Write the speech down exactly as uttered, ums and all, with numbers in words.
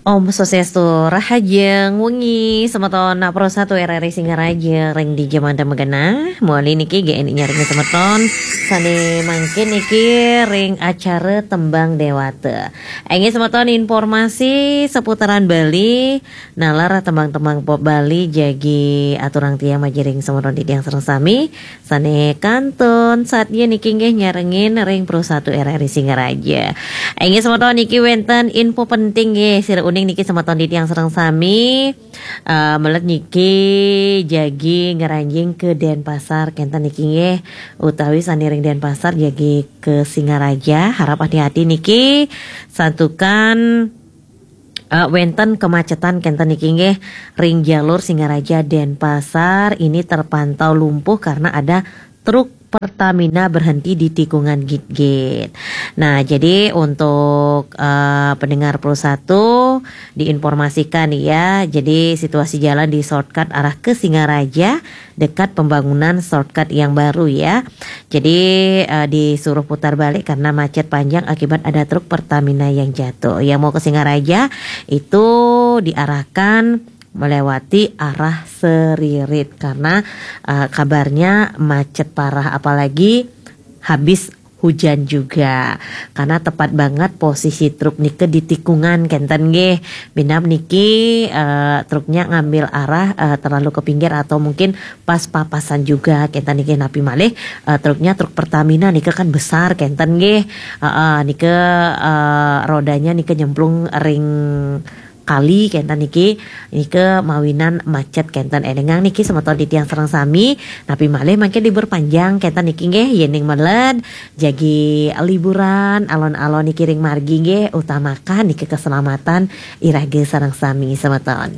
Om Swastiastu, rahajeng wengi semeton Pro Satu R R I Singaraja ring dija manten magenah. Mawali niki G N I nyaringin semeton sane mangkin niki ring acara Tembang Dewata. Inggih semeton, informasi seputaran Bali, nalar tembang-tembang pop Bali jagi aturang tiang majiring semeton titiang sareng sami. Sane kantun sadia niki nggih nyarengin ring Pro Satu R R I Singaraja. Inggih semeton, niki wenten info penting nggih, sira uning niki semeton titiang sareng sami. Eh, melet niki jagi ngranjing ke Denpasar kenten niki nggih, utawi sane ring Denpasar jagi ke Singaraja, harap hati-hati niki, santukan eh, wenten kemacetan kenten niki nggih ring jalur Singaraja Denpasar ini terpantau lumpuh karena ada truk Pertamina berhenti di tikungan git-git. Nah, jadi untuk eh, pendengar Pro Satu diinformasikan ya. Jadi situasi jalan di shortcut arah ke Singaraja dekat pembangunan shortcut yang baru ya. Jadi eh, disuruh putar balik karena macet panjang akibat ada truk Pertamina yang jatuh. Yang mau ke Singaraja itu diarahkan melewati arah Seririt karena eh, kabarnya macet parah, apalagi habis hujan juga, karena tepat banget posisi truk nike di tikungan kenten nggih. Binab niki eh, truknya ngambil arah eh, terlalu ke pinggir atau mungkin pas papasan juga kenten niki, napi malih eh, truknya truk Pertamina nike kan besar kenten nggih. Heeh, nike eh, rodanya nike nyemplung ring kali kenten niki, nike mawinan macet kenten. Elingang niki semeton titiang sareng sami, napi malih mangke libur panjang kenten niki nggih, yening melet jagi liburan alon-alon niki ring margi nggih, utamakan niki keselamatan iraga sareng sami semeton.